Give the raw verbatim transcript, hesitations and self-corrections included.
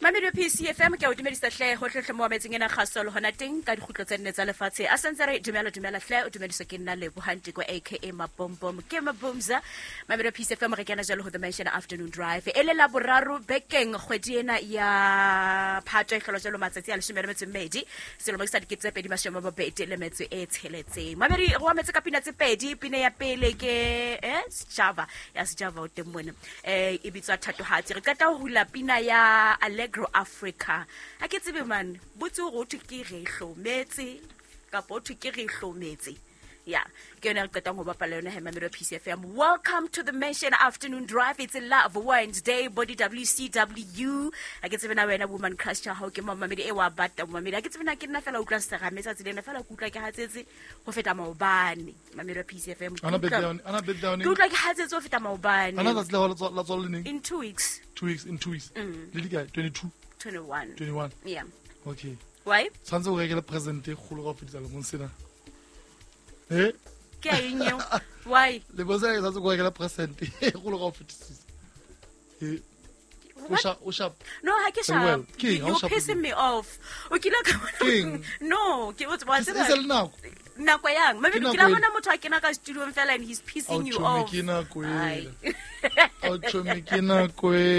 Mamelodi P C F M, ke a o dumedisa hle hohlehle mo metseng ena kgaso le hona teng ka dikgutlo tse nne tsa lefatshe. A santse re dumela, dumela hle, o dumediswa ke nna Lebohantiko, aka Mabombom, ke Mabumza. Mamelodi P C F M, re kena jalo ho The Mansion Afternoon Drive, e le la boraro bekeng kgwedi ena ya Phato, e hlolwa jalo matsatsi a leshome le metso e mmedi selemo ke sa dikete tse pedi mashome a mabedi le metso e tsheletseng. Mamedi, re wametse ka pina tse pedi. Pina ya pele ke eh Sejava ya Sejava o teng mona, eh e bitswa Thatohatsi. Re qeta ho hula pina ya Allegro Africa. Ha ke tsebe man, botse hore ho thwe ke re hlometse kapa ho thwe ke re hlometse. Ya, ke yone re qetang ho bapala yona he, Mamelodi P C F M. Welcome to the Mansion Afternoon Drive. It's a Love Wednesday, body W C W. Ha ke tsebe na wena woman crush ya hao ke mamamedi e wa bata mamamedi. Ha ke tsebe na ke nna fela utlwa serame tsatsi lena, fela ke utlwa ke hatsetse ho feta maobane. Mamelodi P C F M, ke Ana utlwa- birthday, ana birthday. ke utlwa ke hatsetse ho feta maobane. Ana tsatsi la hao la tswalo le neng? In two weeks. Two weeks, in two weeks. Le di kae? twenty-two? twenty-one. twenty-one. Yeah. Okay. Why? Tshwanetse o rekele present e kgolo ka ho fetisa lemong sena. Eh? Ke a eng eo? Why? Le bo sena ke tshwanetse ko rekele present e kgolo ka ho fetisisa. Eh. O What? sharp, o sharp. No, ha ke Very well. sharp. Ke eng? Ha o You're sharp pissing ke? me off. O kile ka bona- Ke eng? No, ke o wa E tseba. se le nako. Nako yang? Maybe Ke ke nako la ena. bona motho a kena ka studio fela and he's pissing Ao you chomi, off. ke nako Ai. ena. Ao chomi, ke nako ena.